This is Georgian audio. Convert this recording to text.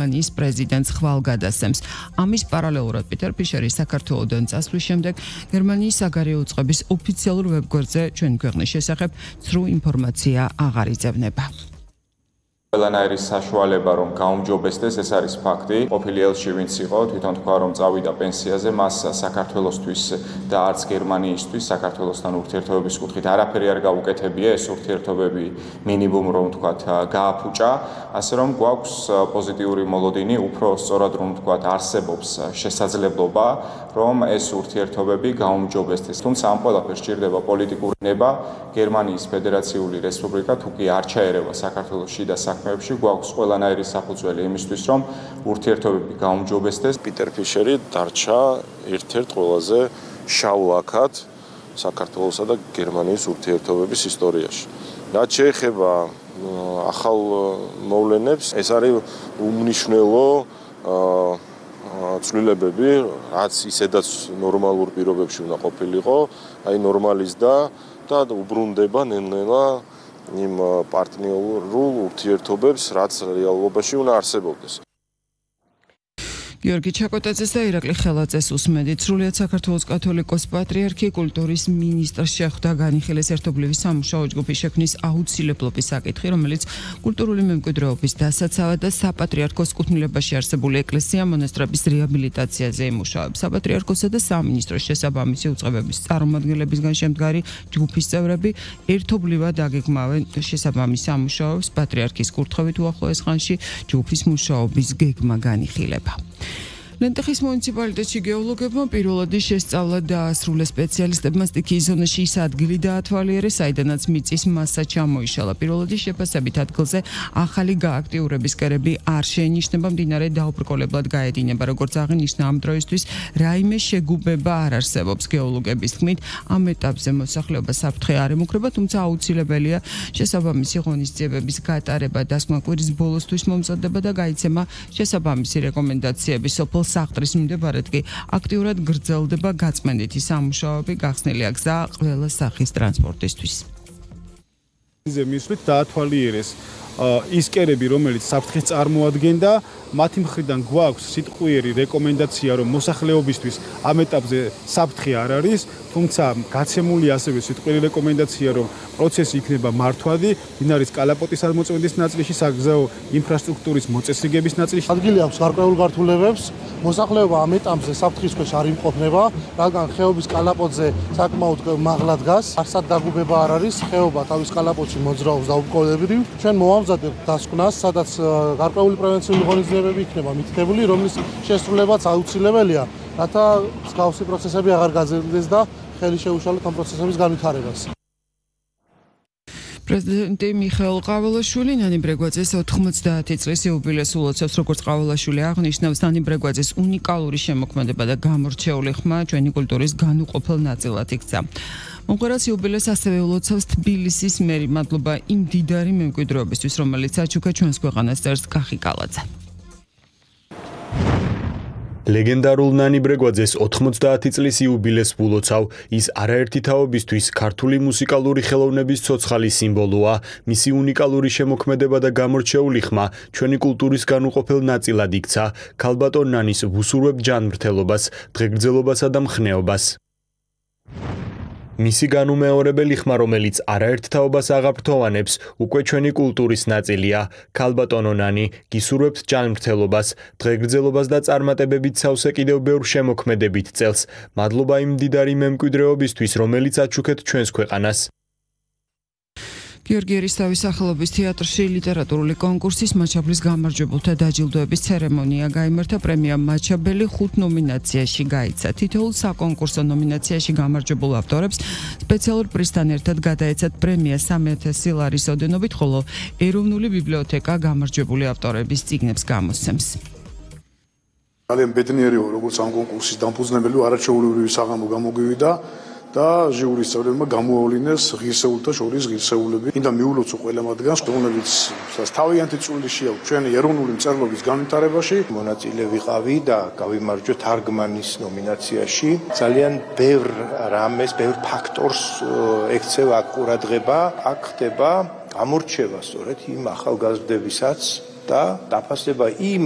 გერმანიის პრეზიდენტს ხვალგადასცემს. ამის პარალელურად პიტერ ფიშერი საქართველოდან წასვლის შემდეგ გერმანიის საგარეო უწყების ოფიციალურ ვებგვერდზე ჩვენი ქვეყნის შესახებ ცრუ ინფორმაცია აღარ იძებნება. ყველანაირი საშუალება რომ გაუმჯობესდეს, ეს არის ფაქტი. ყოფილი ელჩი ვინც იყო, თვითონ თქვა რომ წავიდა პენსიაზე, მას საქართველოსთვის და არც გერმანიისთვის საქართველოსთან ურთიერთობების კუთხით არაფერი არ გაუკეთებია, ეს ურთიერთობები მინიმუმ რომ თქვათ გააფუჭა, ასე რომ გვაქვს პოზიტიური მოლოდინი, უფრო სწორად რომ თქვათ არსებობს შესაძლებლობა, რომ ეს ურთიერთობები გაუმჯობესდეს. თუმცა ამ ყველაფერს სჭირდება პოლიტიკური ნება, გერმანიის ფედერაციული რესპუბლიკა თუ კი არ ჩაერევა საქართველოს შიდა საქმეებში, გვაქვს ყველანაირი საფუძველი იმისთვის, რომ ურთიერთობები გაუმჯობესდეს. პიტერ ფიშერი დარჩა ერთ-ერთ ყველაზე შავ ლაქად საქართველოსა და გერმანიის ურთიერთობების ისტორიაში. რაც შეეხება ახალ მოვლენებს, ეს არის უმნიშვნელო ცვლილებები, რაც ისედაც ნორმალურ პირობებში უნდა ყოფილიყო, აი ნორმალიზდა და უბრუნდება ნელ-ნელა იმ პარტნიორულ ურთიერთობებს, რაც რეალობაში უნდა არსებობდეს. გიორგი ჩაკოტაძეს და ირაკლი ხელაძეს უსმენთ. სრულიად საქართველოს კათოლიკოს პატრიარქი კულტურის მინისტრს შეხვდა განიხილეს ერთობლივი სამუშაო ჯგუფის შექმნის აუცილებლობის საკითხი, რომელიც კულტურული მემკვიდრეობის დასაცავად და საპატრიარქოს კუთვნილებაში არსებული ეკლესია მონასტრების რეაბილიტაციაზე იმუშავებს. საპატრიარქოსა და სამინისტროს შესაბამისი უწყებების წარმომადგენლებისგან შემდგარი ჯგუფის წევრები ერთობლივად აგეგმავენ შესაბამის სამუშაოებს. პატრიარქის კურთხევით უახლოეს ხანში ჯგუფის მუშაობის გეგმა განიხილება. ლენტეხის მუნიციპალიტეტში გეოლოგებმა პირველადი შესწავლა დაასრულეს. სპეციალისტებმა სტიქიის ზონაში ის ადგილი დაათვალიერეს, საიდანაც მიწის მასა ჩამოიშალა. პირველადი შეფასებით ადგილზე ახალი გააქტიურების კერები არ შეინიშნება, მდინარე დაუბრკოლებლად გაედინება. როგორც აღინიშნა, ამ დროისთვის რაიმე შეგუბება არ არსებობს. გეოლოგების თქმით, ამ ეტაპზე მოსახლეობა საფრთხე არ ემუქრება, თუმცა აუცილებელია შესაბამისი ღონისძიებების გატარება. დასკვნა კვირის ბოლოსთვის მომზადდება და გაიცემა შესაბამისი რეკომენდაციები. სოფელ სახლრის მიმდებარედ კი აქტიურად გრძელდება გაწმენდითი სამუშაოები, გახსნილია გზა ყველა სახის ტრანსპორტისთვის. მისვლით დაათვალიერეს ის კერები, რომელიც საფრთხეს წარმოადგენდა, მათი მხრიდან გვაქვს სიტყვიერი რეკომენდაცია, რომ მოსახლეობისთვის ამ ეტაპზე საფრთხე არ არის, თუმცა გაცემული ასევე სიტყვიერი რეკომენდაცია, რომ პროცესი იქნება მართვადი, მდინარის კალაპოტის აღმოწმენდის ნაწილში, საგზაო ინფრასტრუქტურის მოწესრიგების ნაწილში. ადგილი აქვს გარკვეულ გართულებებს, მოსახლეობა ამ ეტაპზე საფრთხის ქვეშ არ იმყოფნება, რადგან ხეობის კალაპოტზე საკმაოდ მაღლა დგას, არსად დაგუბება არ არის, ხეობა თავის კალაპოტში მოძრაობს დაუბრკოლებრივ. ჩვენ მოვამზადებთ დასკვნას, სადაც გარკვეული პრევენციული ღონისძიებები იქნება მითითებული, რომლის შესრულებაც აუცილებელია, რათა მსგავსი პროცესები აღარ გაძლიერდეს და ხელი შეუშალოთ ამ პროცესების განვითარებას. პრეზიდენტი მიხეილ ყაველაშვილი ნანი ბრეგვაძეს 90 წლის იუბილეს ულოცავს. როგორც ყაველაშვილი აღნიშნავს, ნანი ბრეგვაძეს უნიკალური შემოქმედება და გამორჩეული ხმა ჩვენი კულტურის განუყოფელ ნაწილად იქცა. მომღერალს იუბილეს ასევე ულოცავს თბილისის მერი. მადლობა იმ დიდარი მემკვიდრეობისთვის, რომელიც აჩუქა ჩვენს ქვეყანას, წერს კახი კალაძე. ლეგენდარულ ნანი ბრეგვაძეს 90 წლის იუბილეს ულოცავ. ის არაერთი თაობისთვის ქართული მუსიკალური ხელოვნების ცოცხალი სიმბოლოა. მისი უნიკალური შემოქმედება და გამორჩეული ხმა ჩვენი კულტურის განუყოფელ ნაწილად იქცა. ქალბატონ ნანის ვუსურვებ ჯანმრთელობას, დღეგრძელობასა და მხნეობას. მისი განუმეორებელი ხმა, რომელიც არაერთ თაობას აღაფრთოვანებს, უკვე ჩვენი კულტურის ნაწილია. ქალბატონო ნანი, გისურვებთ ჯანმრთელობას, დღეგრძელობას და წარმატებებით სავსე კიდევ ბევრ შემოქმედებით წელს. მადლობა იმ მდიდარი მემკვიდრეობისთვის, რომელიც აჩუქეთ ჩვენს ქვეყანას. გიორგი ერისთავის სახელობის თეატრში ლიტერატურული კონკურსის მაჩაბლის გამარჯვებულთა დაჯილდოების ცერემონია გაიმართა. პრემია მაჩაბელი 5 ნომინაციაში გაიცა. თითოეულ საკონკურსო ნომინაციაში გამარჯვებულ ავტორებს სპეციალურ პრიზთან ერთად გადაეცათ პრემია 3000 ლარის ოდენობით, ხოლო ეროვნული ბიბლიოთეკა გამარჯვებული ავტორების წიგნებს გამოსცემს. ძალიან ბედნიერი ვარ, როგორც ამ კონკურსის დამფუძნებელი, არაჩვეულებრივი საღამო გამოგივიდა და ჟიურის წევრებმა გამოავლინეს ღირსეულთა შორის ღირსეულები. მინდა მიულოცო ყველა მათგანს, რომლებიც თავიანთი წვლილი აქვს ჩვენი ეროვნული მწერლობის განვითარებაში. მონაწილე ვიყავი და გავიმარჯვე თარგმანის ნომინაციაში. ძალიან ბევრ რამეს, ბევრ ფაქტორს ექცევა ყურადღება. აქ ხდება გამორჩევა სწორედ იმ ახალგაზრდებისაც და დაფასება იმ